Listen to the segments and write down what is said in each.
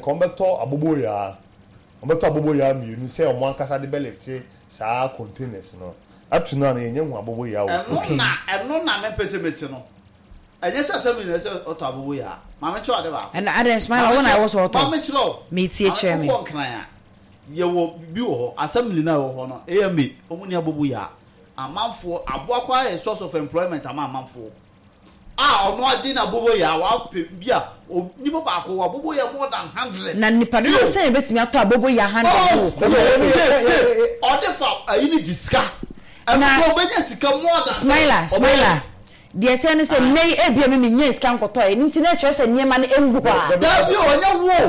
nka wɔbɛtɔ aboboyaa, wɔbɛtɔ aboboyaa mmienu sɛ wɔn ankasa de bɛlifte saa containers no. Up to now no yɛnnya hu aboboyaa wɔ kurom. Ɛno na ɛno na mempɛ sɛ mete no. Ɛnyɛ sɛ assembly na ɛsɛ ɔtɔ aboboyaa. Ma menkyerɛ wo ade baako. Ɛna adɛn Smiler wo na ɛwɔ sɛ ɔtɔ? Ma menkyerɛ wo. Metie kyerɛ me. Wokɔ Nkran a, yɛwɔ bi wɔ hɔ, assembly no a ɛwɔ hɔ no, AMA, wɔn nni aboboyaa. Amanfoɔ, aboa koraa yɛ source of employment ama amanfoɔ. A ɔno ade na aboboyaa wapɛ bi a nipa baako wɔ aboboyaa more than 100. Na nipa dodoɔ sɛn na ebetumi atɔ aboboyaa 100 wɔ kurom ase? Tie tie ɔde fa ayi ne gye sika. Na Ɛno ɔbɛnya sika more than. Smiler Smiler deɛ ɛteɛ ne sɛ nnɛ yi ebia me mennya sika nkɔtɔɛ ɛno nti na ɛkyerɛ sɛ nneɛma no ngu hɔ a. Dabi o ɛnyɛ wo o.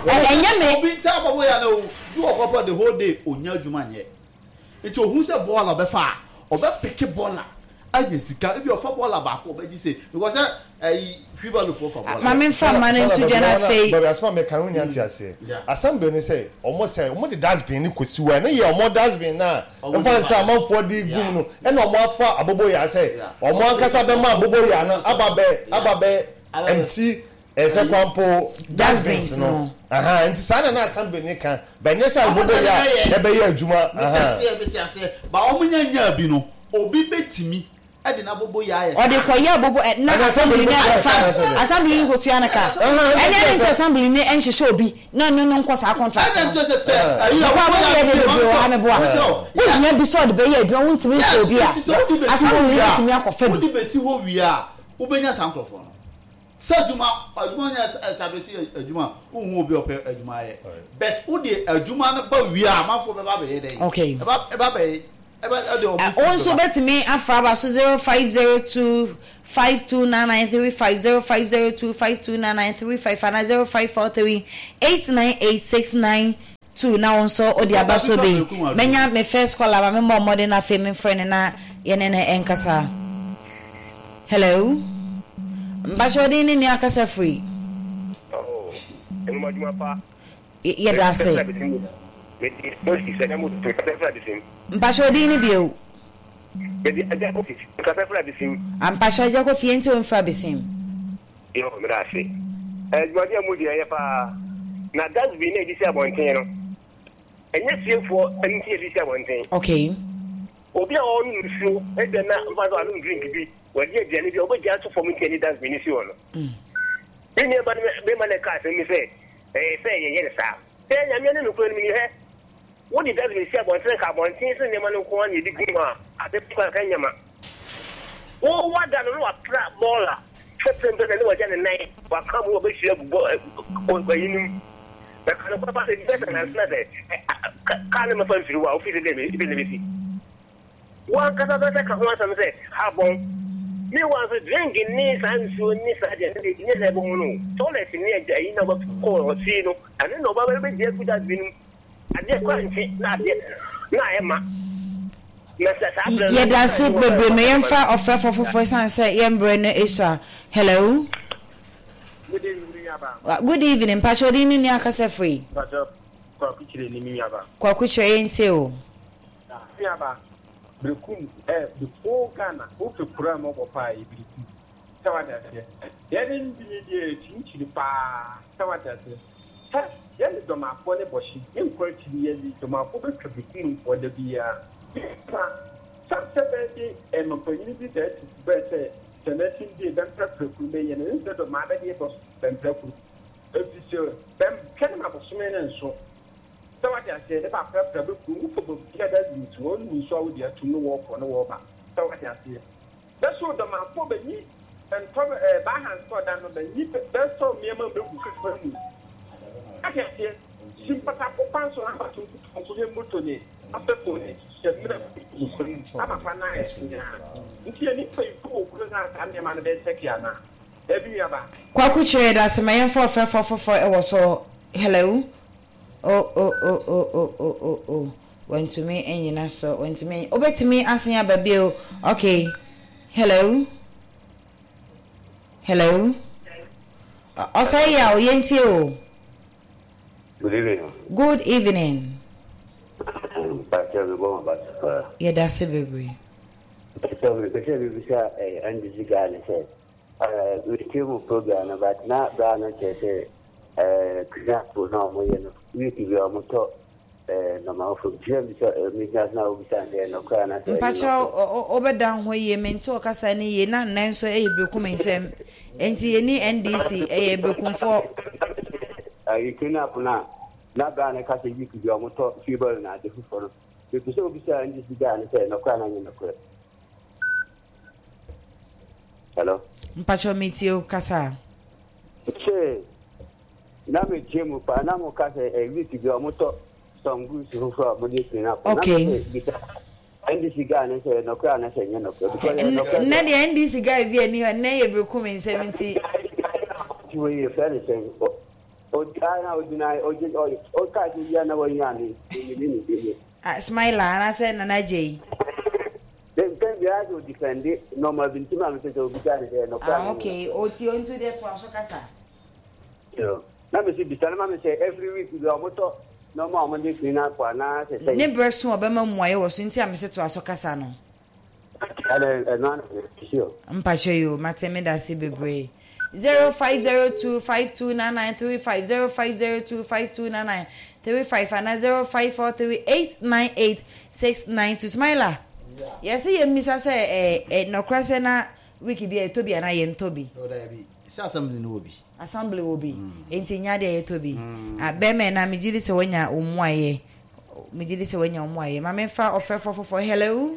Ɛnyɛ me. Obi sɛ aboboyaa no obi wɔ hɔ pɔ the whole day ɔnya adwuma nyɛ. Nti ohun sɛ bɔɔla ɔbɛfa a, ɔbɛpeke bɔɔla anya sika. Ebi ɔfa bɔɔla baako ɔbɛgye sei because sɛ ɛyi wheelbarrow foɔ fa bɔɔla. Ma me nfa mma no nto dwa na afei. Baabi asɛm a meka no wonya nte aseɛ. Asɛm bɛn ne sɛ ɔmo sɛ ɔmo de dustbin no kɔsi hɔ a ɛno yɛ ɔmo dustbin no a ɛmfa ne sɛ amanfoɔ de gu mu no ɛna ɔmo afa aboboyaa sɛ ɔmo ankasa bɛma aboboyaa no aba bɛ aba bɛ empty Ɛsɛ kwan po dustbins no ahaa nti saa na na assembly ne ka but nyɛ sɛ ɔmo bɛyɛ a ɛbɛyɛ adwuma ahaa. Mete aseɛ mete aseɛ but ɔmo nya nyaa bi no obi bɛtumi de n'abobo yɛ ayɛ saa. Ɔde kɔ yɛ abobo ɛ na assembly no ɛfa assembly no kɔ tua no ka ɛne ɛde nti assembly no ɛnhyehyɛ obi na ɔno no nkɔ saa contract no. Ɛna nkyɛ sɛ sɛ ɛyi abobo yɛ de bebree wɔ ha meboa wo hia bi sɛ ɔde bɛyɛ adwuma wo ntumi nfɛ obi a assembly no bɛtumi akɔ fa bi. Wode bɛsi hɔ wie a wobɛnya saa nkorɔfoɔ no. Sɛ adwuma adwuma nyɛ establish adwuma a wonhu obi a ɔpɛ adwuma ayɛ but wode adwuma no ba wie a amanfoɔ bɛba abɛyɛ dɛn? Okay. Ɛba ɛba bɛyɛ ɛba ɛde wɔn Wo si nso bɛba. wobɛtumi afra aba so 0502 529935 0502 529935 anaa 0543 898692 na wo nso wode aba so bi. Mɛnya me first caller ma memmɔ mmɔden na afei memfrɛ no na yɛne no nkasa. Hello. Mpakyɛ wo din ne nea akasa firi? Oh, enuma adwuma pa. Yɛda ase. Mede Moses ɛna mo tu kasa firi abesim. Mpakyɛ wo din ne bio? Mede Agya Kofi kasa firi abesim. Mpakyɛ Agya Kofi yɛn ti wo mfiri abesim. Yo, meda ase. Adwumadi a mudi ɛyɛ paa. Na dustbin na yɛde si abɔnten no, ɛnyɛ fiefoɔ nti yɛde si abɔnten. Okay. Obi a ɔrenom nsuo, ebia na mfa sɛ wanom drink bi, wadi aduane bi a, ɔbɛgya ato fam nti ɛne dustbin no si hɔ no. Me nua ba no bɛma no ɛka asɛm bi sɛ, ɛyɛ sɛ yɛyɛ no saa. Sɛ Nyame ne nokorɛ no menim hɛ, wode dustbin si abɔnten nka abɔnten so nneɛma no nko ara na yɛde gu mu a, asɛm bi kora nka nyɛ ma. Wo wada no na wapra bɔɔla sɛ prempren na ne wagya ne nan waka mu wɔbɛhyira agu bɔ ayi no mu. Bɛka no kora sɛ bɛsɛ nanso na sɛ kaa no mɛfa mfiri hɔ a wofiri sɛ dɛ na bɛsi. Wankasa bɛsɛ ka ho asɛm sɛ ha bɔn. Meanwhile nso drink ne saa nsuo ne saa deɛ ne nyɛ sɛ ɛbɔ ho no toilet ne ayi na wɔbɛkɔ wɔ fie no ɛno na ɔba bɛgye agu dustbin mu. Adeɛ kɔ nkye na adeɛ na ayɛ ma. Na sɛ saa berɛ no. Yɛda ase bebree ma yɛmfa ɔfrɛfoɔ foforɔ ɛsiane sɛ yɛn berɛ no esua. Hello. Good evening, me nuaba. Good evening, mpakyɛ odin ne nea akasa firi. Mpakyɛ Kwaku Kyerɛ ni me nuaba. Kwaku Kyerɛ yɛn tie o. Me nuaba, Berekum eh, the whole Ghana, wopɛ kura mu ɔbɔ paa yɛ Berekum. Sɛ wate aseɛ. Yɛne ndini deɛ yɛkyinkyini paa. Sɛ wate aseɛ. Hɛ! Yɛne Dɔmafoɔ ne bɔhye nkɔ akyiri yɛne Dɔmafoɔ bɛtwa bekum mfoɔ da biara. Mpa sɛ sɛ bɛɛ de ɛmapanyini bi bɛɛ to bɛɛ sɛ sɛ nɛsin die bɛmprɛprɛ kuro bɛ yɛne nsɛ Dɔmaa bɛdeɛ bɔ bɛmprɛ kuro ɛfisɛ bɛm twɛne ma bosome ne nso sɛ wate aseɛ ne bɛaprɛprɛ bɛ kuro wofɔ bɛbia da nsu wɔn nsu a wode atum ne wɔɔkɔ ne wɔɔba sɛ wate aseɛ. Bɛsoo dɔmafo bɛnyi ntɔ ɛɛ baaha nsɔ da no bɛnyi bɛsɔ nneɛma bɛgu kwan mu. Ate aseɛ? Si mpatako kwan so na abato nkutu nko yɛ moto ne afɛfo ne hyɛ mmerɛ gu kwan mu ama kwan no ayɛ nyaa. Nti yɛ nipa yi kɔ wɔ kuro no a saa nneɛma no bɛ kyɛke anaa? Daabi nuaba. Kwaku kyerɛ yɛdase ma yɛmfa ɔfrɛfoɔ foforɔ ɛwɔ so hello oh oh oh oh oh oh oh oh wantumi anyina so wantumi wobɛtumi asan aba bio okay hello hello ɔsɛe yɛ a yɛntie o. Good evening. Good evening. Pastor, mi bɔ ma ba so paa. Yɛda ase bebree. Pastor, mi pɛ sɛ mi bisa NDC guy ne sɛ, mi tie mu program no but na bra no kyerɛ sɛ. clean up no a wɔyɛ no week bi a wɔtɔ ɛɛ nɔɔma foforɔ bi sɛ bisa megyina so na wobisa no sɛ ɛyɛ nɔkorɛ anaasɛ ɛnyɛ Mpakyɛw nɔkorɛ. wobɛda ho yie mente ɔkasa no yie na nnɛ nso ɛyɛ berekum nsɛm nti yɛni NDC ɛyɛ berekumfoɔ. Ɛyɛ clean up no a na bra no ka sɛ week bi a wɔtɔ wheelbarrow na ade foforɔ no mepɛ sɛ wobisa NDC guy no sɛ ɛyɛ nɔkorɛ anaa ɛnyɛ nɔkorɛ. Hello. Mpakyɛw metie o kasa. Sɛ na metie mu paa na mo ka sɛ eh, week bi ɔmo tɔ some goods foforɔ a ɔmo de clean up. Okay. Na me sɛ bisa NDC guy no sɛ nɔkorɛ anaa sɛ ɛnyɛ nɔkorɛ. Because ɛyɛ nɔkorɛ Nnɛ deɛ NDC guy bi ani hɔ nnɛ yɛ berekum nsɛm nti. Ti wei yɛ fɛ ne sɛn ɔgya na ɔgyina ɔgye ɔka sɛ wia na wanya ne ne ne ne ne. Ah, Smiler anaasɛ Nana Gyei. Mpɛn biara sɛ ɔdifɛnde nɔɔma bi nti ma mepɛ sɛ obisa ne sɛ nɔkorɛ Ah, anaa okay. Oti nti deɛ toa so kasa. Yo. Na mese bisa no ma me sɛ every week bi ɔmotɔ nɔɔma a ɔmode clean up anaa sɛ sɛn. Ne berɛ so a ɔbɛma mmuaeɛ wɔ so nti a mese toa so kasa no. Ɛnɛ ɛno ana sure. Mpakyɛ yoo mate medase bebree. 0502 529935 0502 529935 anaa 0543 898 692 Smiler yɛse yɛmmisa sɛ ɛ ɛ nɔkorɛ sɛ na week bi a yɛtɔ bi anaa yɛntɔ bi. No daabi sɛ assembly no wɔ bi. Assembly wɔ bi enti nyɛ adeɛ a yɛtɔ bi. Ah bɛrima ɛna megye di sɛ wanya wo mmuaeɛ megye di sɛ wanya wo mmuaeɛ ma memfa ɔfrɛfoɔ foforɔ hello.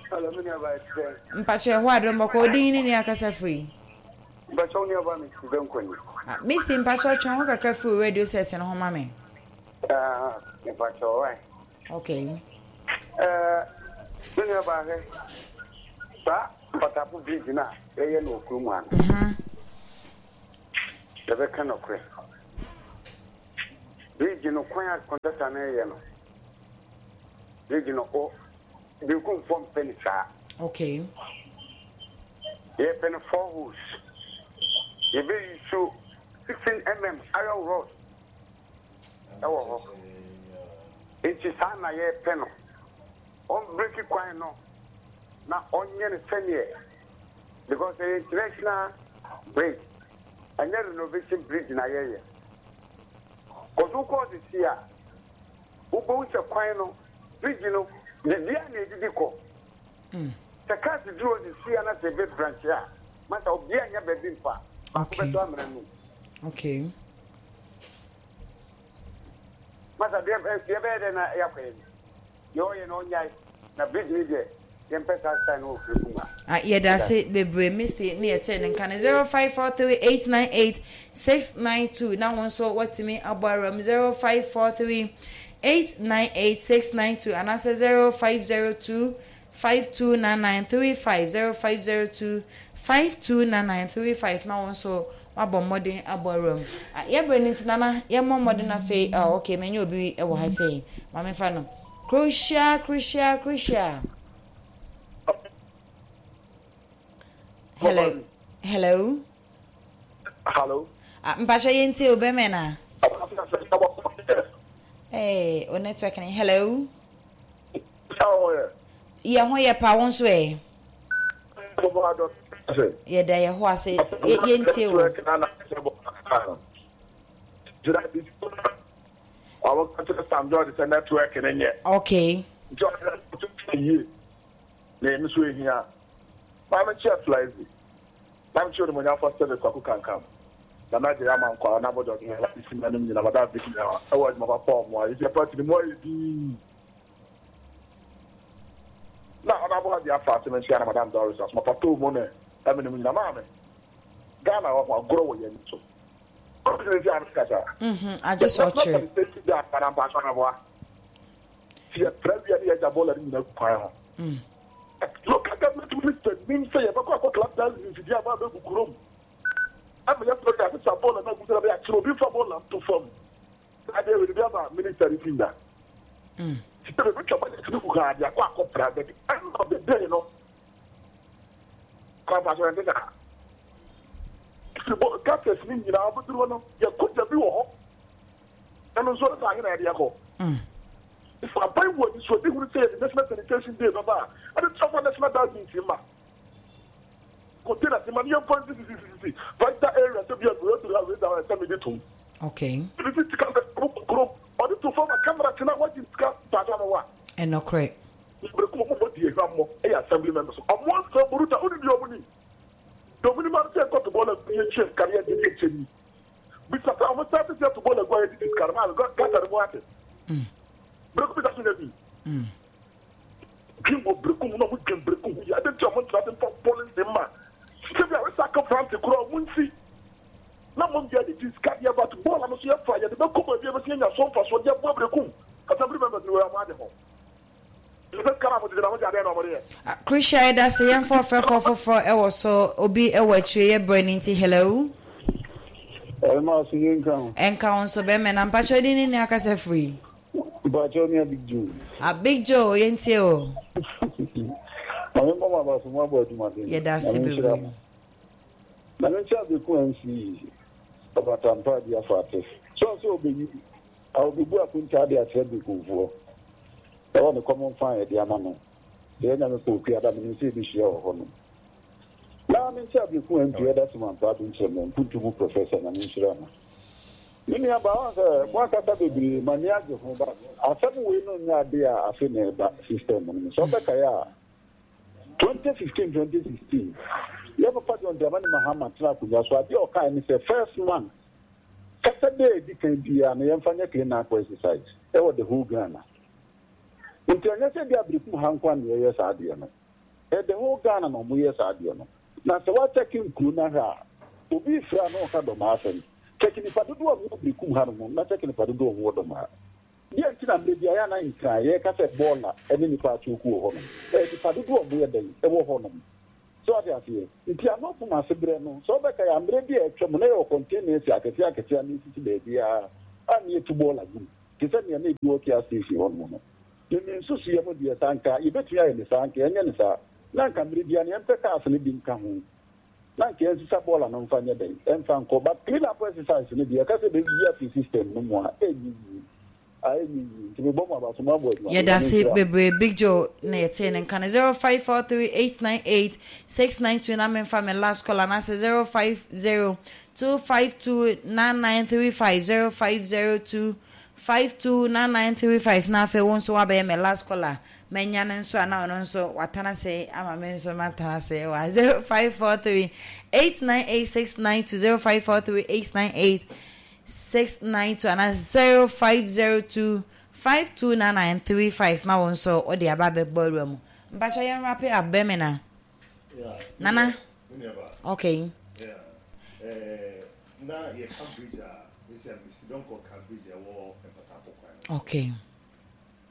Hello, me nua baa ɛte sɛn? Mpakyɛ ɛhɔ adom bɔkɔ wo din ne nea akasa firi? Mpakyɛ wo nua baa Misty Bɛnkɔ ni. Ah, Misty mpakyɛ twe ho kakra firi wo radio set no ho ma me. Ah, mpakyɛ ɔwae. Okay. Eh, me nua baa hwɛ, saa mpatafo bridge no a yɛyɛ no wɔ kurom ha no. Mhm. Yɛbɛka nɔkorɛ. Bridge no kwan a contractor no yɛ no, bridge no o Berekumfoɔ mpɛ no saa. Okay. Yɛpɛ no 4 holes. Yɛbɛ use 16 iron rod ɛwɔ hɔ. Nti saa na yɛpɛ no. Ɔmbreki kwan no na ɔnyɛ no sɛneɛ because ɛyɛ international bridge ɛnyɛ renovation bridge na yɛyɛ. Kɔso wokɔɔ sisi a wobɛhu sɛ kwan no Bridge no, biribiara na edidi kɔ. Sɛ cars duru hɔ sisi a na sɛ ebe branch a, masa obiara nnya baabi mfa. Baako bɛtɔ amena no mu. Okay. Masa deɛ deɛ bɛyɛ dɛ na yɛakɔ yɛ ni. Deɛ ɔyɛ no ɔnyae. Na bridge no deɛ yɛmpɛ saa style no wɔ Frekum ha. Ah, yɛda ase bebree Misty ne yɛtee ne nka no 0543898692 na wo nso watumi abɔ awura mu 0543898692 anaasɛ 0502 529935 0502 529935 na wo nso wabɔ mmɔden abɔ awura mu. Ah, yɛbrɛ no nti nana yɛmmɔ mmɔden afei ah, okay manya obi wɔ ha sei ma memfa no Croatia Croatia Croatia Hello. Hello. Hello. Ah, mpacho yɛntie o bɛmɛ na. Hey, o network ni. Hello. Yɛ ho yɛ pa wo nso ɛ. Yɛda yɛ ho ase yɛntie o. Okay. Na emi so ehia. Maame kyerɛ Flazy. Maame kyerɛ Onimuonyamfoɔ Stephen Kwaku Kankam. Nana Adjei Amankwaa, Nana Abɔdɔ Ɔhene, Alhaji Sima nom nyina, Madam Vicky nyina ɛwɔ adwuma papa a ɔmo ayɛ. Nti party no mu ayɛ dinn. Na Honourable Hajia Afa ase menkyea na Madam Doris Asoma Pato mo ne ɛme nom nyina. Maame, Ghana wɔ ho agorɔ wɔ yɛn ani so. Ɔno nti a meka saa. Mhm, agye sɛ National ɔkyerɛ. Sanitation Day aba na mpakyɛw meboa. Sɛ yɛpra wia ne yɛgya bɔɔla no nyina gu kwan ho. Local government minister nim sɛ yɛbɛkɔ akɔ clap dance mfidie aba abɛgu kurom ama yɛafrɛ no asesa bɔɔla no agu sɛ ɛbɛyɛ akyerɛ obi mfa bɔɔla nto fam. Saa deɛ wei bi ama minister no ti nna. Sɛ bɛbɛtwa budget no gu ha de akɔ akɔpra but end of the day no anampa so ɛnte saa. Firi gutters no nyinaa wobɛduru hɔ no yɛkɔ gya bi wɔ hɔ. Ɛno nso ɛsɛ ahe na yɛde akɔ? If aban wɔ anisoadehunu sɛ yɛde National Sanitation Day bɛba a, ɛde tra fa National Dustbins mma. Containers mma ne yɛmfa nsisisisisi vital areas sɛ bi a wei aduru ha, wei da hɔ, ɛsɛ mede tom. Okay. Ebi fi sika bɛ ɔmo kurom ɔde to fam a camera kyena wagye sika mpakyɛw no wa. Ɛnɔkorɛ. Berekum ɔmo bɔ di ehwammɔ ɛyɛ assembly members ɔmo asɛm buruta wonim deɛ ɔmo nim deɛ ɔmo nim ara sɛ yɛnkɔ to bɔɔla gu yɛnkyia sika no yɛngye deɛ nkyɛ ni bisa sɛ ɔmo start sɛ yɛto bɔɔla gu a yɛdidi sika no maa gata no mu ate berekum bisa so nya bi dwen wɔ berekum na ɔmo dwen berekum ho yɛ adɛn nti ɔmo ntra ase mfa policy mma sɛ bi a recycle plant koraa ɔmo nsi na mmom yɛde gye sika deɛ but bɔɔla no so yɛfa yɛde bɛkɔ baabi a yɛbɛsi anya so mfasoɔ de aboa berekum assembly members no wɔ ɔmo ade ho. Krisha yɛdase yɛmfa ɔfrɛfoɔ foforɔ ɛwɔ so obi ɛwɔ akyire yɛ brɛ no nti hello. Ɛma so yɛ nka ho. Ɛnka ho nso bɛmɛ na mpakyɛw din ne ne akasa firi. Mpakyɛw ne Big Joe. Ah Big Joe yɛntie o. Maame mbɔ mo aba so mo abɔ adwuma den. Yɛdase bebree. Na me nkyɛn abeku MC ɔbatampa adi afa ate. So ɔsɛ ɔbɛyi A Obebu akontaa de akyerɛ Berekumfoɔ wɔ ne common fund a yɛde ama no. Sɛ yɛnya me kɔ Okuada a, menim sɛ yɛbɛhyia wɔ hɔ nom. Na me nkyɛ Abereku MP Elder Simon Ampah Adonkyerɛmu, Mpuntu mu Professor, Nyame nhyira no. Me nua baa, woahu sɛ mo akasa bebree, m'ani agye ho but asɛm wei no nyɛ adeɛ a afe na ɛba system no mu. Sɛ wobɛkae a, 2015, 2016, yɛ papa John Dramani Mahama tena akonnwa so, adeɛ a ɔkae ne sɛ first month, Kasa da a edi kan biara no yɛmfa nyɛ clean up exercise wɔ the whole Ghana. Nti ɛnyɛ sɛ ebia Berekum ha nko ara na yɛyɛ saa adeɛ no. Ɛyɛ the whole Ghana na wɔyɛ saa adeɛ no. Na sɛ woakyɛke nkuro no ahwɛ a, obi refrɛ a na ɔka Dɔmaa asɛm. Kyɛke nnipa dodoɔ a wɔwɔ Berekum ha nom na kyɛke nnipa dodoɔ a wɔwɔ Dɔmaa. Deɛ nti na mmerɛ biara yɛ a na Nkran yɛka sɛ bɔɔla ne nnipa akyooku wɔ hɔnom. Ɛyɛ nnipa dodoɔ a wɔyɛ dɛn wɔ hɔnom. So wate aseɛ? Nti ano pom ase berɛ no, sɛ wobɛkae a, mmerɛ bi a atwam no, na yɛwɔ containers akɛseɛ akɛseɛ a na ɛsisi baabiara a na yɛtu bɔɔla gu mu, te sɛ nea na ebi wɔ Kia station hɔ nom no. Me me nsusuiɛ mu deɛ, sɛ anka yɛbɛtumi ayɛ no saa, anka yɛnyɛ no saa. Na anka mmerɛ biara no yɛmpɛ cars no bi nka ho, na anka yɛnsesa bɔɔla no mfa nyɛ dɛn, ɛmfa nkɔ. But clean up exercise no deɛ, yɛka sɛ yɛbɛyi afiri system no mu a, ɛnyɛ yie. Yɛdase bebree Big Joe na yɛtee ne nka no 0543898692 na memfa me last call anaasɛ 0502529935 0502529935 na afei wo nso wabɛyɛ me last caller manya no nso a na ɔno nso watana ase ama me nso matana ase wɔ 0543898692 05438986 692 anaa 0502 529935 na wo nso wode aba abɛbɔ awura mu. Mpakyɛ yɛn wrap it up Bɛmina. Nana. Okay. Yeah. Eh, na yɛ ka bridge a, ɛsɛ Mr. Donkor ka bridge ɛwɔ Mpatapo kwan. Okay.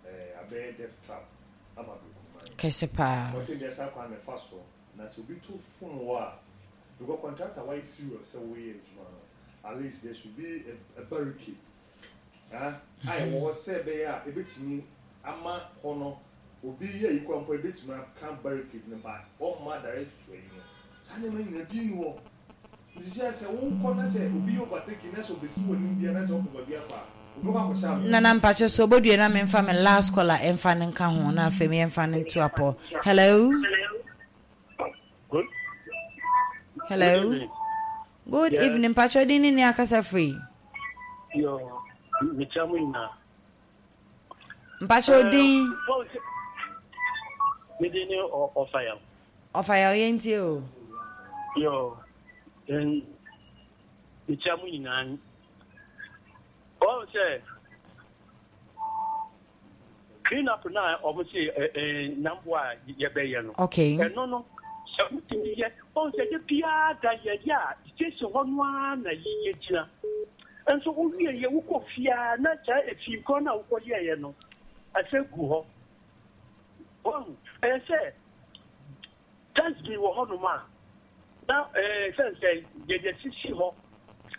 Eh, abɛyɛ death trap ama Brekuman. Kɛse paa. Ɔte deɛ saa kwan na ɛfa so na sɛ obi to fom wɔ a, because contractor wayɛ serious sɛ woyɛ adwuma no. At least there should be a barricade ah a ɛwɔ hɔ sɛ ɛbɛyɛ a ebetumi ama hɔ no obi yɛ ayi kora mpo ebetumi aka barricade no ba ɔmma direct to ayi no saa nneɛma nyinaa bi nni hɔ nti sɛ sɛ wokɔ na sɛ obi yɛ overtaking na sɛ obesi wɔ anim bia na sɛ ɔpɛ baabi afa a obɛkɔ akɔhyɛ amena. Nana mpakyɛ so obodue na menfa me last caller ɛmfa no nka ho na afei yɛmfa no nto apɔ hello. Good. Hello. Good evening. Good yes. evening. Pacho din ne akasa free. Yo, mekyia mo nyinaa. Mpacho eh, din. Me din ne Ɔfayaw. Ɔfayaw yɛn tie o. Yo, mekyia mo nyinaa. Wɔn sɛ Clean up no a wɔn se nyamboa a yɛbɛyɛ no. Okay. Ɛno no sɛ wotumi yɛ wɔn sɛ de biara da yɛyɛ a station hɔ no ara na yɛgyina. Nso wowie yɛ wokɔ fie a na saa efi korɔ no a wokɔ yɛɛyɛ no ɛsɛ gu hɔ. Wɔn ɛyɛ sɛ dustbin wɔ hɔnom a na ɛɛ sɛ sɛ yɛde asisi hɔ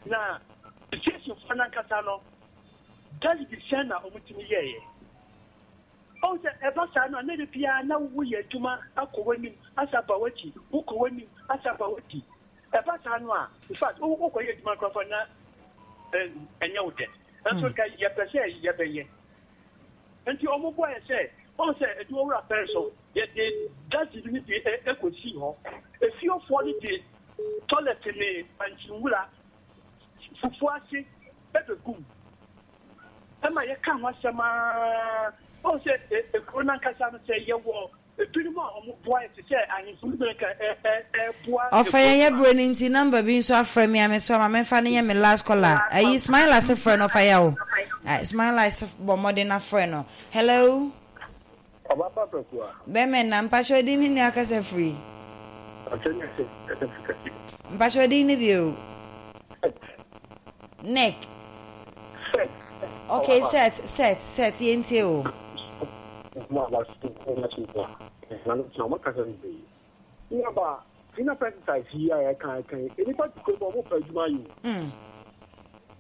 na stationfoɔ no ankasa no dustbin sɛn na wɔtumi yɛɛyɛ. Ɔhu sɛ ɛba saa no a na da biara na woyɛ adwuma akɔ w'anim asa aba w'akyi, wokɔ w'anim asa aba w'akyi. Ɛba saa no a, in fact, wokɔyɛ adwuma koraa na ɛnyɛ wo dɛ. Nso nka yɛpɛ sɛ yɛbɛyɛ. Nti wɔn boaeɛ sɛ, wɔn sɛ adwumawura pɛn so, yɛde dustbin no bi kɔsii hɔ. Efiefoɔ no de toilet ne bankye nwura, fufuo ase. Ɛbɛgu mu. Ɛma yɛka ho asɛm ara. Woahu sɛ ekuro no ankasa no, sɛ yɛwɔ ebinom a wɔboa yɛ te sɛ ahemfo no bi nka ɛboa Ɔfa ekuro yɛn no yɛ a. berɛ no nti number bi nso afrɛ me a me so ama memfa no nyɛ me last caller. Ayi Smiler se frɛ no ɔfa yɛ o. Smiler se bɔ mmɔden na frɛ no. Hello. Ɔba pa Prɛkoa. Bɛmɛ na mpakyɛw din ne nea akasa firi. Mpakyɛw ne sɛ kasa firi kɛse. Mpakyɛw din ne bio. Set. Neck. Set. Okay set set set yɛn tie o. Mo a waso wɔn aso mu a na no tena wɔn kasa bebree. Nuaba Tina pesticides yi a yɛka yɛka yi nnipa te kurom a wɔn pɛ adwuma ayɛ o.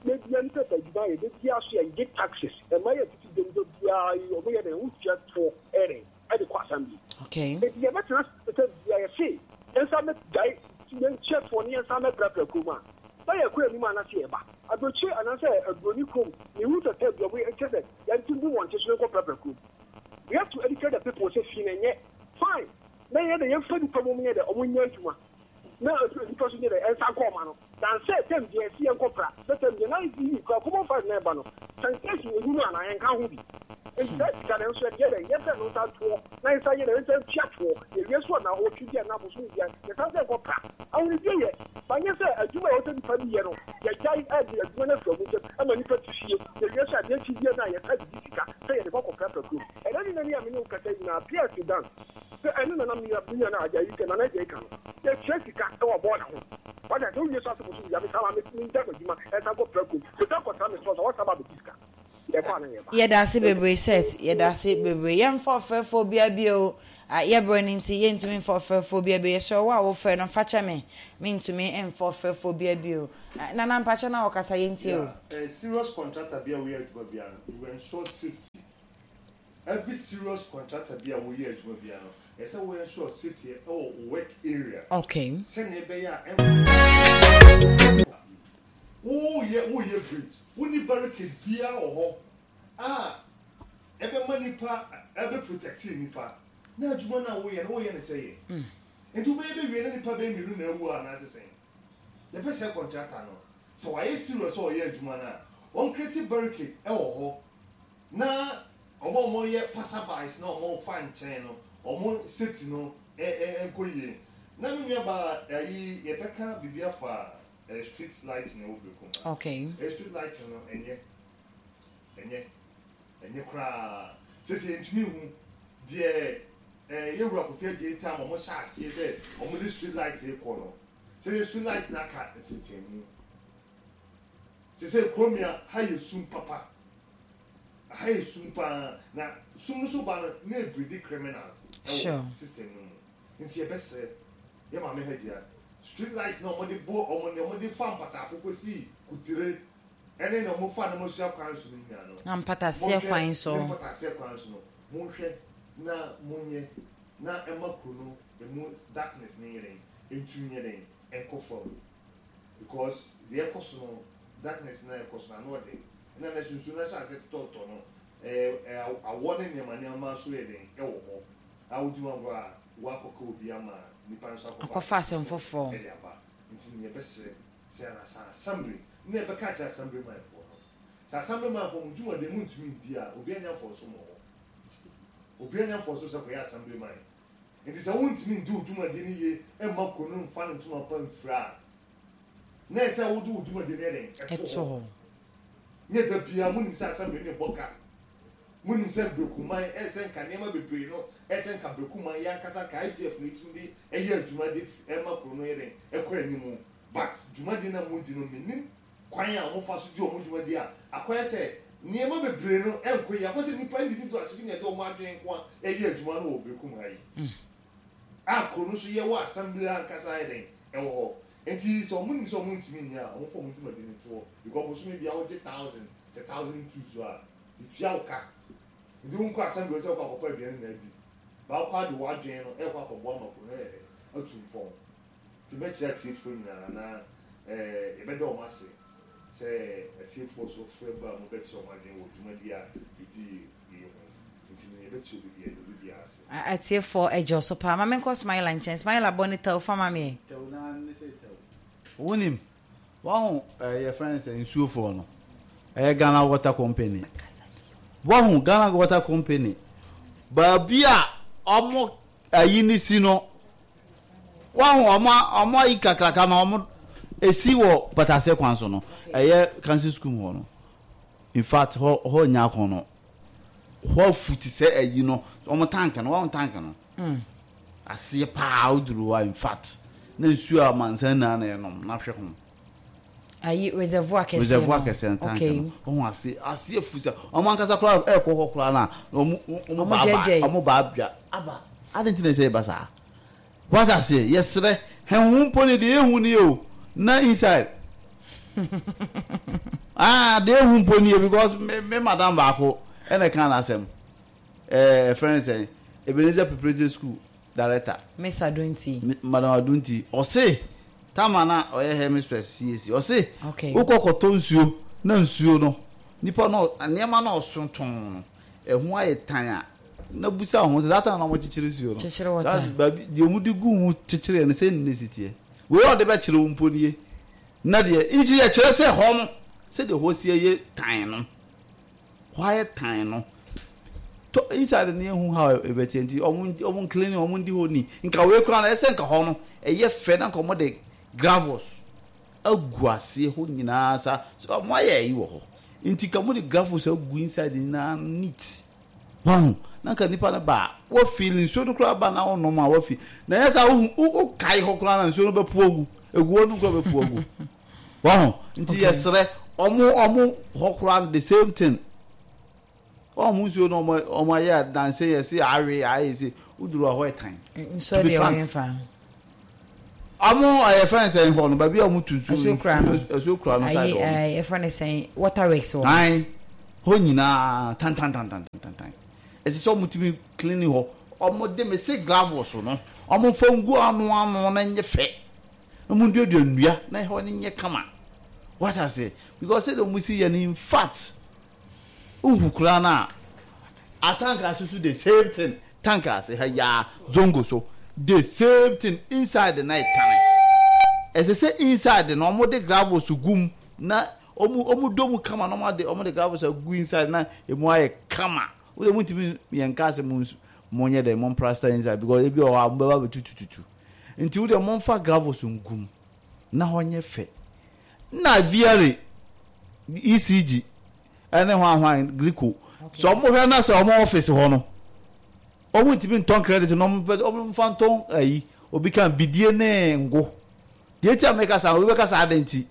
Da bia nipa pɛ adwuma ayɛ da bia so yɛ gye taxes ɛma yɛ tete dwom da bia yi wɔn yɛ dɛ wɔn tua toɔ ɛyɛ dɛ ɛde kɔ assembly. Okay. Eti yɛ bɛtena sɛ bia yɛ se yɛn nsa mɛ gyae yɛn tua toɔ ne yɛn nsa mɛ prapra kurom a na yɛ kɔ anim anase yɛ ba aburokyire anaasɛ aburoni kurom ne hu sɛ sɛ bia wɔn yɛ kyɛ sɛ yɛn ti gu wɔn ti so ne nkɔ prapra kurom. We have to educate the people sɛ fi na nyɛ fine na yɛ dɛ yɛn fɛ nipa mu yɛ dɛ wɔn nyɛ adwuma na nipa so nyɛ dɛ ɛnsa nkɔ ɔma no. Than sɛ tɛm deɛ ɛsi yɛnkɔ pra sɛ tɛm deɛ na yi kura common fund na ɛba no sanitation ɛni mu anaa yɛnka ho bi nti saa sika no nso yɛde yɛ dɛn yɛsɛ no nsa ntoɔ na yɛsa yɛ dɛn yɛnsa ntua toɔ yɛwie so anaa ɔtwe bi anaa bosome bi a yɛsan sɛ nkɔ pra ahonidie yɛ ba nyɛ sɛ adwuma a ɛwɔ sɛ nipa bi yɛ no yɛgyae ɛde adwuma no afiri ɔmo nsam ɛma nipa te fie yɛwie so adeɛ kye bia no a yɛsa didi sika sɛ yɛde kɔ kɔ prapra kurom ɛnɛ ne nani a me ne wo kasa nyinaa PS Dan Sɛ ɛno na na me nua me nua no agya yi ka nana agya yi ka no, yɛtua sika wɔ bɔɔla ho. Wate aseɛ? Wowie so ase bosom wia, mesan ba me mengya m'adwuma ɛsan kɔ pra kurom. Mesan kɔtra me store so a, wɔsan ba abɛgye sika. Yɛkɔ a na yɛba. Yɛdase bebree Seth, yɛdase bebree. Yɛmfa ɔfrɛfoɔ biara bio, ah, yɛbrɛ no nti yɛntumi mfa ɔfrɛfoɔ biara bio. Yɛsrɛ wo a wofrɛ no fa kyɛ me, mentumi mfa ɔfrɛfoɔ biara bio. Ah, Nana mpakyɛ na wɔkasa yɛntie o. Yeah, eh, serious contractor bi a woyɛ adwuma biara no, you ensure safety. Every serious contractor bi a woyɛ adwuma biara no, ɛsɛ sɛ wo ensure safety wɔ wo work area. Okay. Sɛnea ɛbɛyɛ a ɛnkɔ. Woyɛ woyɛ bridge, wonni barricade biara wɔ hɔ a ɛbɛma nipa ɛbɛ protect nipa. Na adwuma no a woyɛ no woyɛ no sɛ yɛ. Nti wobɛyɛ bɛwie na nipa bɛyɛ mmienu na awu anaasɛ sɛn? Yɛpɛ sɛ contractor no sɛ wayɛ serious sɛ ɔyɛ adwuma no a, wɔn create barricade wɔ hɔ. Na wɔn a wɔyɛ passerbys na wɔfa nkyɛn no, wɔn safety no nkɔ yie. Na me nua baa ayi yɛbɛka biribi afa street lighting ɛwɔ Berekum ha. Okay. Street lighting no ɛnyɛ, ɛnyɛ, ɛnyɛ koraa. Sese yɛntumi nhu deɛ yɛ wura Kofi Adjei tam wɔn hyɛ aseɛ sɛ wɔn de street lights rekɔ no. Sese street lights no aka nsensɛnmu. Sese Kuromia ha yɛ sum papa. Aha yɛ sum paa na sum no so ba no na ɛbridi criminals ɛwɔ system no mu nti yɛbɛsrɛ yɛ maame Hajia street lights na wɔde bɔ wɔn ne wɔde fa mpataako kɔsi kutere ɛne na wɔn fa na wɔasua kwan so no nyinaa no Na mpataseɛ kwan so. Ne mpataseɛ kwan so no monhwɛ na monyɛ na ɛma kuro no ɛmu darkness no nyɛ dɛn ɛntu nyɛ dɛn ɛnkɔ fam. Because deɛ ɛkɔ so no darkness no a ɛkɔ so no ano ɔden ɛna na nsuo no ahyɛ aseɛ totɔtotɔ no ɛɛ awɔ ne nneɛma nneɛma nso yɛ den ɛwɔ hɔ a wodi ho agorɔ a woakɔka obi ama nipa nso akɔfa Akɔfa asɛm foforɔ. ɛde aba nti no yɛbɛsrɛ sɛ anasa assembly na yɛbɛka akyerɛ assembly manfoɔ no sɛ assembly manfoɔ mo dwumadie mo ntumi ndi a obi anya mfɔnso mo hɔ obi anya mfɔnso sɛ kɔyɛ assembly man Enti sɛ wontumi ndi wo dwumadi no yie mma kuro no mfa ne ntoma pa mfira a, na ɛsɛ sɛ wode wo dwumadi no yɛ dɛn? Ɛto hɔ. Nyɛ da biara monim sɛ assembly no rebɔ ka. Monim sɛ Brekuman ɛyɛ sɛ nka nneɛma bebree no ɛyɛ sɛ nka Brekuman yɛn ankasa nka IGF no yɛtumi de ɛyɛ adwuma de ɛma kuro no yɛ dɛn? Ɛkɔ anim. But dwumadi no a modi no mennim kwan a wɔfa so di wɔn dwumadi a, akɔyɛ sɛ nneɛma bebree no nkɔ yie. Akɔyɛ sɛ nnipa individuals bi na ɛde wɔn adwene nko ara ɛyɛ adwuma no wɔ Berekum ha yi. A kuro no nso yɛwɔ assembly ankasa ayɛ dɛn ɛwɔ hɔ. Nti sɛ wɔn nim sɛ wɔn ntumi nyɛ a, wɔn fa wɔn dwumadi no to hɔ. Because bosome biara wogye thousand, sɛ 1002 so a, yɛtua wo ka. Nti wonkɔ assembly hɔ sɛ wokɔ akɔpɛ aduane na adi. Ba wokɔ ade w'adwene no ɛkɔ akɔboa ma kuro no ayɛ dɛn atu mpɔn. Nti mɛkyerɛ atiefoɔ nyinaa na yɛbɛda wɔn ase sɛ atiefoɔ nso frɛ ba a wɔbɛkyerɛ wɔn adwene wɔ dwumadie a yɛdii yi ho. Nti no yɛbɛkyerɛ obi biara, yɛda obi biara ase. Atiefoɔ ɛgye wo so paa. Ma menkɔ Smiler nkyɛn. Smiler bɔ ne tɛw fa ma me ɛ. Tɛw naa ne sɛ tɛw. Wonim, wahu eh, yɛfrɛ no sɛ nsuofoɔ no. Ɛyɛ Ghana Water Company. Wahu Ghana Water Company baabi a ɔmo ayi ne si no. Wahu ɔmo ɔmo ayi kakraka no ɔmo esi wɔ Patase kwan so no. Ɛyɛ Council School mu hɔ no. In fact hɔ hɔ nya akɔnɔ. Hɔ afu te sɛ ayi no ɔmo tank no wahu tank no. Aseɛ paa woduru hɔ a in fact na nsuo a amansan nyinaa na ɛnom na hwɛ ho. Ayi reservoir kɛseɛ no. Reservoir kɛseɛ no tank okay. no. Wɔn ase ase afu sɛ wɔn ankasa koraa ɛkɔ hɔ koraa na wɔn wɔn ba aba wɔn ba abwa aba adi nti na ɛsɛ ɛba saa. Wata aseɛ yɛsrɛ hɛn ho mpo ne deɛ ehu nie o na inside ah deɛ ehu mpo nie because me me madam baako ɛna ɛka n'asɛm ɛɛ ɛfrɛ ne sɛn Ebenezer Preparatory School director. Miss Adunti. Madam Adunti ɔse. Tama na ɔyɛ headmistress CAC ɔse wokɔ kɔtɔ nsuo na nsuo no nipa no nneɛma na ɔso tɔn no ɛho ayɛ tan a na busa ho sɛ saa tan na wɔn kyekyere nsuo no kyekyere wɔta baabi deɛ wɔn de gu mu kyekyere no sɛ ne si teɛ wei ɔde bɛkyerɛ wo mpo nie na deɛ nti yɛkyerɛ sɛ hɔ no sɛdeɛ hɔ si yɛ tan no Hɔ ayɛ tan no. Tɔ inside no yɛnhu how ɛbɛteɛ nti ɔmo ɔmo nclean ɔmo ndi hɔ ni. Nka wei koraa no ɛsɛ nka hɔ no ɛyɛ fɛ na nka ɔmo de gravels agu aseɛ hɔ nyinaa sa so ɔmo ayɛ ayi wɔ hɔ. Nti nka ɔmo de gravels agu inside nyinaa neat. Wahu na nka nipa no ba a wafeel nsuo no koraa ba na ɔnom a wafi na ɛyɛ saa wohu wokae hɔ koraa na nsuo no bɛpo agu egu hɔ no koraa bɛpo agu. Wahu? Nti yɛsrɛ ɔmo ɔmo hɔ koraa no the same thing. Wɔn nsuo no ɔmo ɔmo ayɛ danse yɛse awe ayɛ se woduru hɔ ɛtan. Nsuo deɛ wɔn fa. Ɔmo ɛyɛ fɛn sɛn hɔ no baabi a ɔmo tu nsuo Asuo kura no. Asuo kura no side hɔ. Ayi ɛfɛ ne sɛn water works wɔ. Ayi hɔ nyinaa tan tan tan tan tan tan. Ɛsɛ sɛ ɔmo tumi clean hɔ. Ɔmo de me se gravels no ɔmo nfa ngu ano ano na nyɛ fɛ. Na ɔmo nduadua nnua na ɛhɔ no nyɛ kama. Wate ase? Because sɛdeɛ ɔmo si yɛ no in fact wohu koraa no a atank ase so the same thing tank ase ha yaa zongo so the same thing inside na ɛtane ɛsɛ sɛ inside na ɔmo de gravels gu mu na ɔmo ɔmo dɔ mu kama na ɔmo de ɔmo de gravels agu inside na emu ayɛ kama wode mo ntumi yɛn nka sɛ mo mo nyɛ dɛ mo mprasta inside because ebi wɔ hɔ a mo bɛba bɛtutututu Nti wo deɛ momfa gravels ngu mu na hɔ nyɛ fɛ. Na VRA, ECG ɛne hwan hwan Glico sɛ ɔmo hwɛ na sɛ ɔmo office hɔ no ɔmo ntumi ntɔn credit no ɔmo pɛ ɔmo nfa ntɔn ayi obi kan bidie ne ngo deɛ ti a meka saa obi bɛka saa adan ti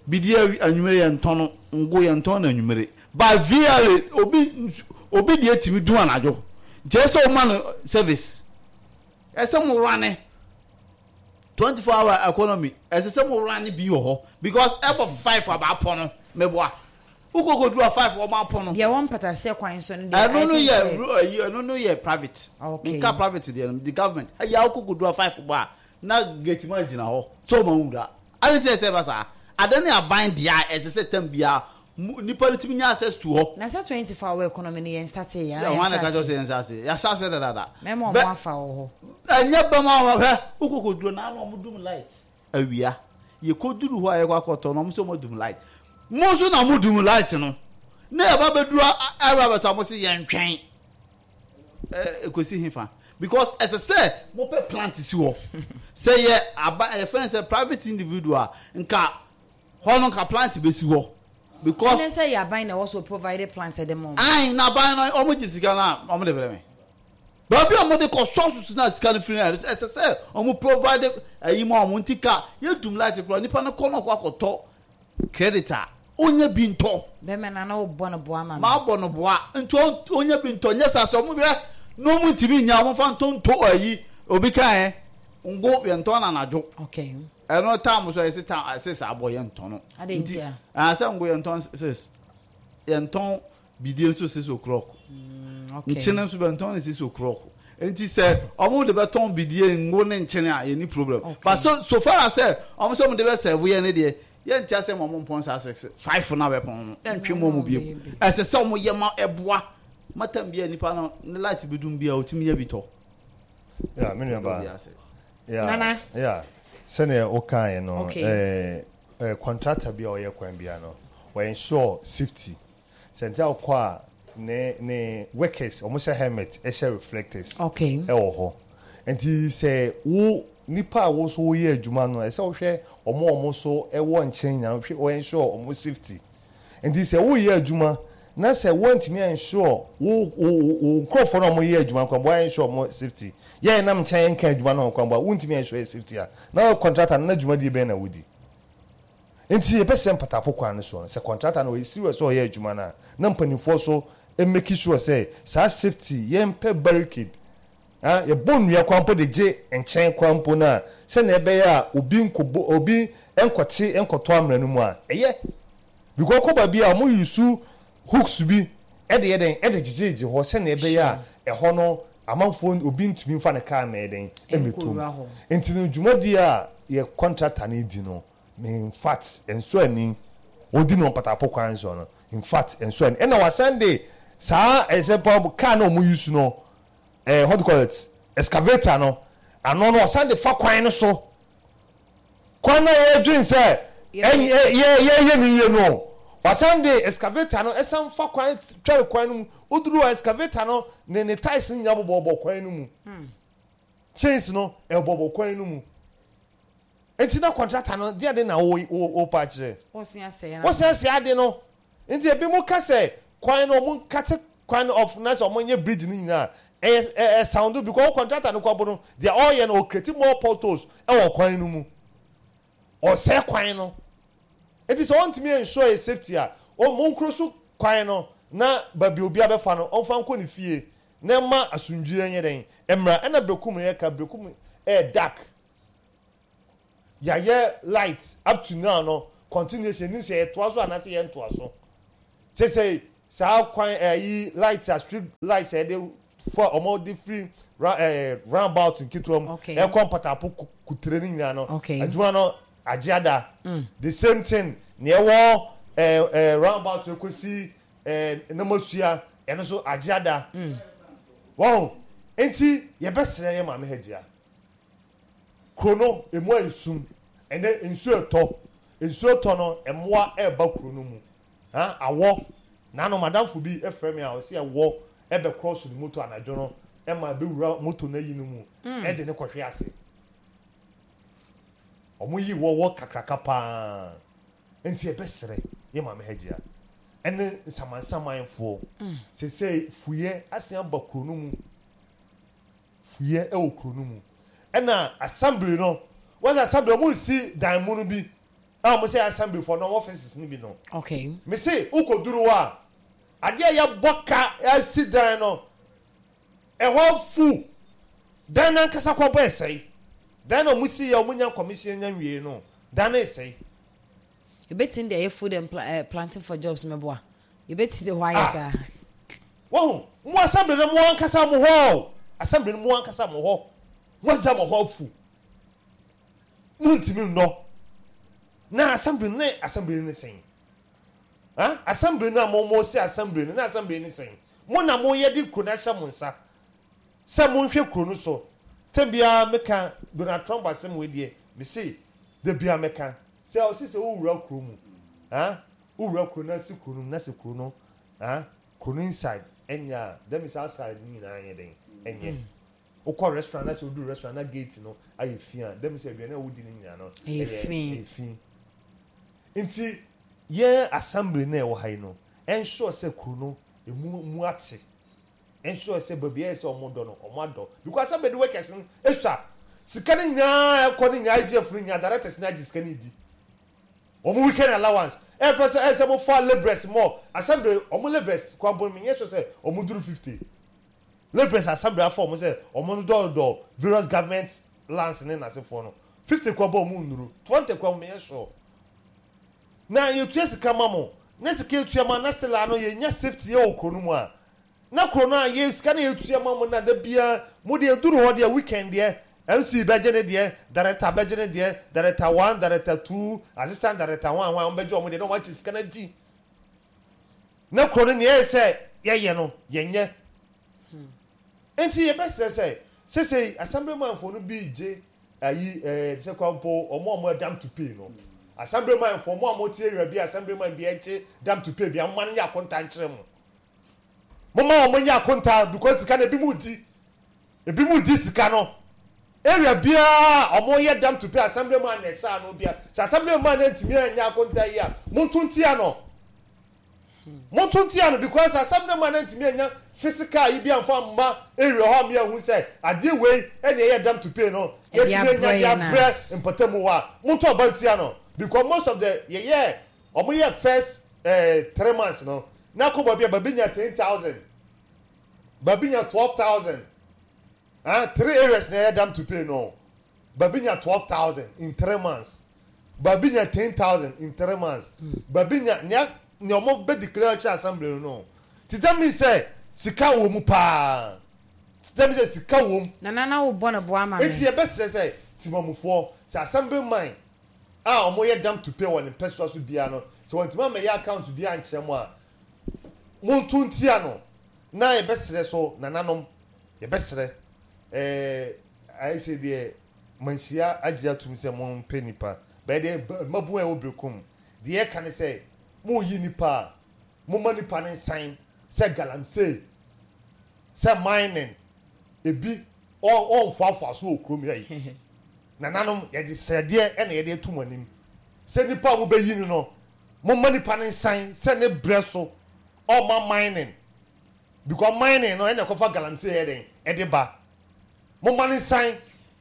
bidie anwumere yɛ ntɔn no ngo yɛ ntɔn no anwumere ba VRA obi obi deɛ tumi dun anadwo nti ɛsɛ ɔma no service. Ɛsɛ mo rane 24 hour economy ɛsɛ sɛ mo rane bi wɔ hɔ because ɛbɔ 5 aba apɔ no meboa wokɔ kɔduru a 5 wɔn apɔ no. Deɛ wɔn mpataseɛ kwan so no deɛ ɛno no yɛ ɛyi ɛno no yɛ private okay nka private deɛ no the government ɛyɛ awokɔ kɔduru a 5 bɔ a na gate man gyina hɔ sɛ ɔma nwura ade ti ɛsɛ ɛba saa ade ne aban deɛ a ɛsɛ sɛ tam biara Nipa no tumi nya access to hɔ. Na sɛ 24 hour economy no yɛn startee yɛ anaa yɛn hyɛ ase. Yɛn hyɛ ase yɛahyɛ ase dadaada. Mɛma ɔmo afa wɔ hɔ. Ɛnyɛ bɛma ɔmo hwɛ wokɔ kɔ duro na ɔmo dum light awia yɛ kɔ duru hɔ a yɛkɔ akɔtɔ no ɔmo sɛ ɔmo dum light mo nso na mo dum light no na yɛba bɛduru ɛba bɛtɔ ɔmo sɛ yɛn twɛn ɛkɔsi hefa because ɛsɛ sɛ mopɛ plant si hɔ sɛ yɛ aba ɛyɛ fɛn sɛ private individual nka. Hɔ no nka plant bɛsi hɔ because. Ɛnɛ sɛ yɛ aban na ɛwɔ so provide plant ɛde ma wɔn. Ayi na aban no wɔn gye sika no a wɔn de brɛ me. Baabi a wɔn de kɔ sources na sika no firi no ɛsɛ sɛ wɔn provide ɛyi ma wɔn nti ka yɛ dum light koraa nipa no kɔ na ɔkɔ akɔtɔ credit a onya bi ntɔ. Bɛmɛ na na ɔbɔ no boa ma me. Maa bɔ no boa nti onya bi ntɔ nyɛ saa sɛ wɔn hwɛ na wɔn ntumi nya wɔn fa ntɔ ntɔ ayi obi kan ɛ ngo yɛn ntɔn na anadwo. Okay. Ɛno tam so ɛsɛ tam ɛsɛ saa bɔ yɛn ntɔn no. Ade nti a. Asɛ ngo yɛn ntɔn sis yɛn ntɔn bidie nso six o'clock. Mm, okay. Nkyene nso bɛ ntɔn ne six o'clock. Nti sɛ ɔmo de bɛ tɔn bidie ngo ne nkyene a yɛn ni problem. Okay. But so so far as sɛ ɔmo sɛ ɔmo de bɛ sɛvo yɛn ne deɛ yɛn ti asɛ mo ɔmo mpɔn saa six five na bɛ pɔn no yɛn twe mo ɔmo biem. Ɛsɛ sɛ ɔmo yɛ ma ɛboa matam bi a nipa no ne light bi dum bi a otumi yɛ bi tɔ. Yeah, me nua ba. Yeah, Nana. Yeah. Sɛnea wokaeɛ no, Okay. eh, eh, contractor bi a ɔyɛ kwan bia no, Wɔ ensure safety. Sɛ nti a wokɔ a ne ne workers wɔn hyɛ helmet hyɛ reflectors Okay. ɛwɔ hɔ. Nti sɛ wo nipa a wo nso woyɛ adwuma no ɛsɛ wohwɛ wɔn a wɔn nso ɛwɔ nkyɛn nyinaa wohwɛ wɔ ensure wɔn safety. Nti sɛ woyɛ adwuma na sɛ woantumi ansure wo wo wo nkurɔfoɔ no a wɔyɛ adwuma no kwan bɔ ansure wɔn safety yɛ nam nkyɛn nka adwuma no ho kwan bɔ a wontumi ansure yɛ safety a na contractor no na dwumadie bɛn na wodi. Nti yɛbɛsrɛ mpatapo kwan no soɔ no, sɛ contractor no ɔyɛ serious sɛ ɔyɛ adwuma no a, na mpaninfoɔ nso make sure sɛ saa safety, yɛmpɛ barricade, ah, yɛbɔ nnua koraa mpo de gye nkyɛn koraa mpo no a, sɛdeɛ ɛbɛyɛ a obi nkɔbɔ, obi nkɔte nkɔtɔ amena no mu a, ɛyɛ. Because wokɔ baabi a, wɔn use hooks bi de yɛ dɛn, de gyegyegye hɔ sɛdeɛ ɛbɛyɛ a ɛhɔ no amanfoɔ, obi ntumi mfa ne car mmɛyɛ dɛn, mmɛtɔ mu. Nti no dwumadie a yɛ contractor no redi no, Me infact ɛnsɔ ani ɔdi no mpatapo kwan so no infact ɛnsɔ ani ɛna wasan de saa ɛsɛ pa car na ɔmo use no ɛɛ what do you call it excavator no ano no ɔsan de fa kwan no so kwan na yɛdwen sɛ ɛnyɛ yɛ yɛyɛ no yie no wasan de excavator no ɛsan fa kwan twɛre kwan no mu oduru a excavator no ne ne ties no nyinaa bobɔbɔ kwan no mu chains no ɛbɔbɔ kwan no mu. Nti na kɔntrata no deɛ de na wo wo wo pa akyerɛ. Wɔsi asɛe Wɔsi asɛe ade no. Nti ebi mo ka sɛ kwan no ɔmo nkate kwan no off na sɛ ɔmo nyɛ bridge no nyinaa ɛyɛ ɛ ɛ sound because wo kɔntrata no kɔ bo no deɛ ɔyɛ no ɔcreate more potholes ɛwɔ kwan no mu. Ɔsɛe kwan no. Nti sɛ ɔntumi ensure yɛ safety a ɔmo nkuro so kwan no na baabi obi abɛfa no ɔmfa nkɔ ne fie na ɛma asomdwie nyɛ dɛn ɛmmra. Ɛna Berekum yɛka Berekum ɛyɛ dark. Yɛayɛ light up to now no continuation yɛnim sɛ yɛtoa so anaasɛ yɛntoa so. Sesei saa kwan ɛyi light a street light a yɛde fa wɔn de firi ra ɛɛ roundabout nketewa mu Okay. ɛkɔ mpatapo ku- kutere no nyinaa no Okay. adwuma no agye ada. The same thing nea ɛwɔ ɛɛ ɛɛ roundabout ekosi ɛɛ namasua ɛno nso agye ada. Wɔn nti yɛbɛsrɛ yɛ maame Hajiya. Kuro no, emu ayɛ sum. Ɛnnɛ, nsuo retɔ. Nsuo retɔ no, mmoa reba kuro no mu. Ha, awɔ. Naano, m'adamfo bi frɛ me a, ɔse ɛwɔ bɛkrɔso ne moto anadwo no ma ɛbɛwura moto no ayi no mu de no kɔhwe ase. Wɔyi wɔwɔ kakraka paa. Nti yɛbɛsrɛ yɛ Maame Hajia ne nsamansamanfoɔ. Seesei fuyɛ asen aba kuro no mu. Fuyɛ wɔ kuro no mu. Ɛna assembly no, wɔn sɛ assembly wɔn nsi dan mu no bi a wɔn sɛ assembly for no offices no bi no. Okay. Me se wokɔ duru hɔ a, adeɛ a yɛbɔ ka asi dan no, ɛhɔ fu. Dan no ankasa kɔ bɔ ɛsɛe. Dan na wɔn si yɛ wɔn nya commission nya nwie no, dan no ɛsɛe. Ebetumi de ɛyɛ food and pla eh, planting for jobs mɛboa. Yɛbɛti de hɔ ayɛ Ah. saa. Wahu? Mo assembly no mo ankasa mo hɔ o. Assembly no mo ankasa mo hɔ. Mo agya mo hɔ afu. Mo ntumi nnɔ. Na assembly no ne assembly no ne sɛn? Ha? Assembly no a mo mo se assembly no ne assembly no ne sɛn? Mo na mo yɛ de kuro no ahyɛ mo nsa sɛ monhwɛ kuro no so. Tɛm biara meka Donald Trump asɛm wei deɛ me se da biara meka sɛ ɔse sɛ wowura kuro mu ha Wo wura kuro no asi kuro no mu na sɛ kuro no ah kuro no inside ɛnyɛ a that means outside no nyinaa nyɛ dɛn ɛnyɛ. Wokɔ restaurant na sɛ woduru restaurant na gate no ayɛ fi a that means aduane a wodi no nyinaa no Ɛyɛ fi. ɛyɛ fi. Nti yɛn assembly no a ɛwɔ ha yi no ensure sɛ kuro no emu mu ate. Ensure sɛ baabi a ɛyɛ sɛ wɔn dɔ no wɔn adɔ because assembly workers no esua sika no nyinaa ɛkɔ no nyinaa IGF no nyinaa directors no agye sika no di. Wɔn weekend allowance ɛfɛ sɛ ɛsɛ mo fa labourers mɔ assembly wɔn labourers kwan bɔ no menyɛ sure sɛ wɔn duru 50 labourers assembly afa wɔn sɛ wɔn dɔɔdɔɔ various government lands ne n'asefoɔ no 50 kwan bɔ wɔn nnuru 20 kwan menyɛ sure na yɛtua sika ma mo na sika yɛtua ma na still ano yɛnya safety yɛ wɔ kuro no mu a Na kuro no a yɛ sika no yɛtua ma mo na da biara mo deɛ ɛduru hɔ deɛ weekend deɛ MC bɛgye ne deɛ, director bɛgye ne deɛ, director one, director two, assistant director hwan hwan wɔn bɛgye wɔn deɛ na wɔn akyɛ sika no adi. Na kuro no nea ɛyɛ sɛ yɛyɛ no yɛnyɛ. Nti yɛbɛsrɛ sɛ sesei assemblymanfoɔ no bi gye ayi ɛɛ sɛ kwan mpo wɔn a wɔn adam to pay no. Assemblyman foɔ mo a mote area bi a Assemblyman bi ɛnkye dam to pay bia momma no nyɛ akonta nkyerɛ mo. Momma wɔn nyɛ akonta because sika no ebi mo di. Ebi mo di sika no. Area biara a wɔn yɛ dam to pay Assemblyman na ɛhyɛ ano bia. Sɛ Assemblyman no antumi anyɛ akonta yi a monto ntia no. Monto ntia no because asɛm no ma no antumi anya physical yi bi amfa amma area hɔ a me ahu sɛ adeɛ wei ɛna ɛyɛ dam to pay no Ɛde yɛtumi anya abrɛ de yɛn a. abrɛ mpɔtamu hɔ a monto aba ntia no because most of the yɛyɛ ɔmo yɛ first eh, 3 months no na kɔ baabi a baabi nya 10,000, baabi nya 12,000, ah, three areas na ɛyɛ dam to pay no, baabi nya 12,000 in 3 months, baabi nya 10,000 in 3 months, baabi nya nea ɔmo bɛ declare kyerɛ assembly no. Ti that means sɛ sika wɔ mu paa. Ti that means sɛ sika wɔ mu. Nana na wo bɔ ne bo ama me. Eti yɛbɛsrɛ sɛ timamufoɔ sɛ assembly man a ɔmo yɛ dam to pay wɔ ne mpɛsoa so biara no, sɛ wɔntumi amɛyɛ account bi ankyerɛ mo a, monto ntia no. Na yɛbɛsrɛ so nananom, yɛbɛsrɛ ayɛ sɛ deɛ manhyia agye atum sɛ mompɛ nipa bɛyɛ deɛ mmabun a ɛwɔ Berekum deɛ yɛka ne sɛ moyi nipa a, momma nipa ne nsan sɛ galamsey, sɛ mining, ebi ɔnfoafoa so wɔ kurom ha yi. Nananom, yɛde srɛdeɛ ɛna yɛde ato mo anim sɛ nipa a mobɛyi no no, momma nipa ne nsan sɛ ne brɛ so ɔma mining, because mining no ɛna ɛkɔfa galamsey yɛ den ɛde ba. Momma ne nsan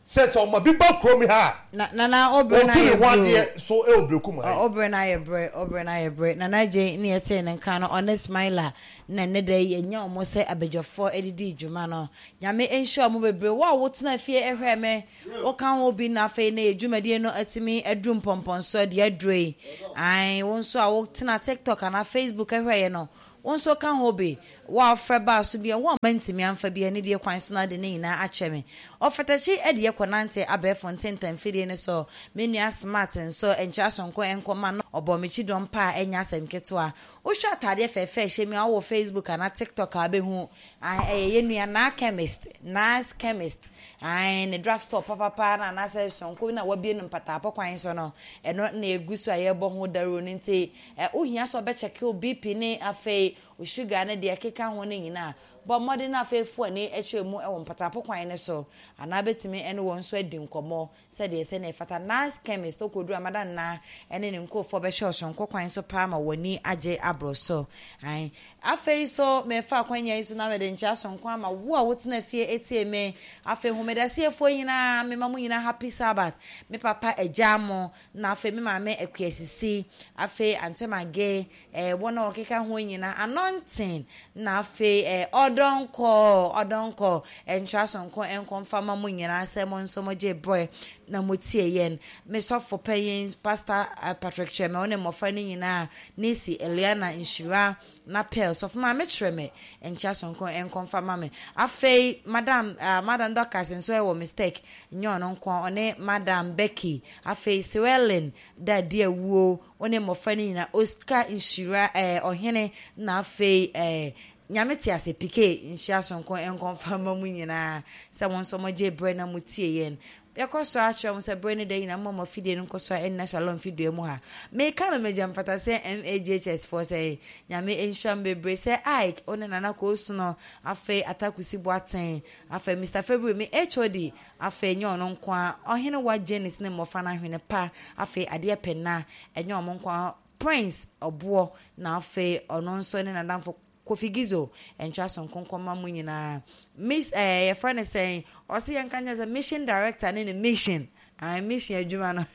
sɛ ɔma bi ba kurom ha a, Na nana obrɛ na ɔntu ne ayɛ ho brɛ o. adeɛ so ɛwɔ Berekum ha yi. Obrɛ na ayɛ brɛ, obrɛ na ayɛ brɛ. Nana Agye ne yɛtee ne nka no, ɔne Smiler na nnɛ da yi yɛanya wɔn sɛ abadwafoɔ de dii dwuma no. Nyame nhyira wɔn bebree. Wo a wotena fie hwɛɛ me, woka ho bi na afei nnɛ yɛn dwumadie no atumi aduru mpɔmpɔnsoɔ deɛ aduro yi. Ae, wo nso a wotena TikTok anaa Facebook hwɛeɛ no, wo nso ka ho bi. Wo a wofrɛ baa so bi a, wo a mantumi amfa bi anidie kwan so na ade ne nyinaa akyɛ me. Ɔfatakyi de yɛ kɔnante abɛɛfo ntentan mfidie no so. Me nua Smart nso, nkyerɛ asonko nkɔma no, ɔbɔɔ me kyidɔm paa a ɛnyɛ asɛm ketewa. Wohwɛ ataadeɛ fɛɛfɛ a ɛhyɛ mi a, wowɔ Facebook anaa TikTok a wobɛhu. Ae, ɛyɛ yɛn nua Naa Chemist, Naa's Chemist. Ae, ne drug store papapa no anaasɛ sononko no a wabue no mpataapɔ kwan so no, ɛno na ɛgu so a yɛrebɔ ho dawuro no nti, ɛ, wohia sɛ wɔbɛkyɛke wo BP ne afei wo sugar ne deɛ ɛkeka ho no nyinaa. Bɔ mmɔden na afei fa w'ani kyerɛ mu wɔ mpatapo kwan no so, anaa bɛtumi ne wɔn nso adi nkɔmmɔ sɛdeɛ sɛdeɛ ɛfata. Nice Chemist, wokɔduru a, Madam Naa ne ne nkurɔfoɔ bɛhyɛ wo sononko kwan so paa ma w'ani agye aboro so. Ae. Afei nso, merefa akwanya yi so na mede nkyea sononko ama wo a wotena fie tie me. Afei Homedasiefoɔ nyinaa, mema mo nyinaa Happy Sabbath. Me papa agyaa mo, na afei me maame Akua Sisi, afei Ante Mage, Eh, wɔn a wɔkeka ho nyinaa, anointing, na afei eh, ɔdɔnkɔ, ɔdɔnkɔ, nhyira sonko nkɔ mfa ma mo nyinaa sɛ mo nso mo gye brɛ na mo tie yɛn. Me sɔfo panyin, Pastor eh, Patrick Kyerɛmɛ, wo ne mmɔfra no nyinaa, Nisi, Eliana, Nhyira, na Pearl, sɔfo maame Kyerɛmɛ, nkyia sonko nkɔ mfa ma me. Afei, Madam, uh, Madam Dorcas nso ɛwɔ mistake, nyɛ ɔno nko, ɔne Madam Becky, afei Suellen, Dadi awuo, Wo ne mmɔfra no nyinaa, Oscar nhyira eh, ɔhene na afei eh, Nyame te ase PK nhyira sonko nkɔ mfa mma mo nyinaa sɛ mo nso mo gye berɛ na mo tie yɛn. Yɛkɔ so ara kyerɛ mo sɛ berɛ ne da nyinaa momma mo afidie no nkɔ so ara nna Shalom fidua mu ha. Meka no megya mfata sɛ MAGHS foɔ sɛ Nyame nhyira mo bebree sɛ Ike, wo ne Nana Koosono, afei Atakusi Boateng, afei Mister February me HOD, Afei ɛnyɛ ɔno nko ara, Ɔhenewa Janice ne mmɔfra no ahwene pa, afei adeɛ pɛ nna, ɛnyɛ wɔn nko ara, Prince Ɔboɔ, na afei ɔno nso ne n'adamfo Kofi Gizo, ntwa so nkonkɔn ma mo nyinaa. Miss ɛɛ yɛfrɛ no sɛn, ɔse yɛnka nkyerɛ sɛ mission director ne ne mission, ah mission adwuma no,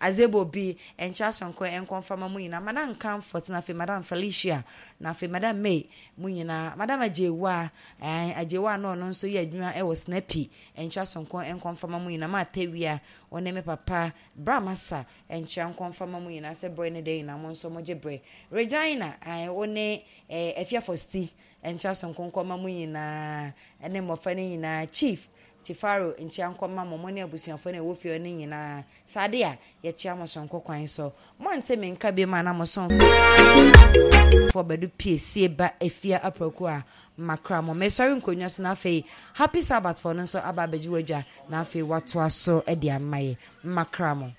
Azebo bi, ntwa so nko nkɔmfa ma mo nyinaa, Madam Comfort, na afei Madam Felicia, na afei Madam May, mo nyinaa, Madam Agyewa, Ae, Agyewa a na ɔno nso yɛ adwuma wɔ Snappy nkyea soronko nkɔmfama mu nyinaa, Martha Awia, ɔne me papa Bra Masa nkyea nkɔmfama mu nyinaa sɛ berɛ ne da nyinaa mo nso mogye berɛ. Regina, ae, wo ne eh, Afia Fosti nkyea soronko nkɔma mu nyinaa, ne mmɔfra no nyinaa, Chief, Chifaro nkyea nkɔma mo, mo ne abusuafoɔ no a ɛwɔ fie hɔ no nyinaa. Saa de a, yɛkyea mo soronko kwan so. Moante me nka biom a na mo somfoɔ Badu Piesie ba Afia Apraku a makra mo. Mesɔre nkonnwa so na afei Happy Sabbath foɔ no nso aba abɛgye w'adwa na afei watoa so de ama yɛ. Makra mo.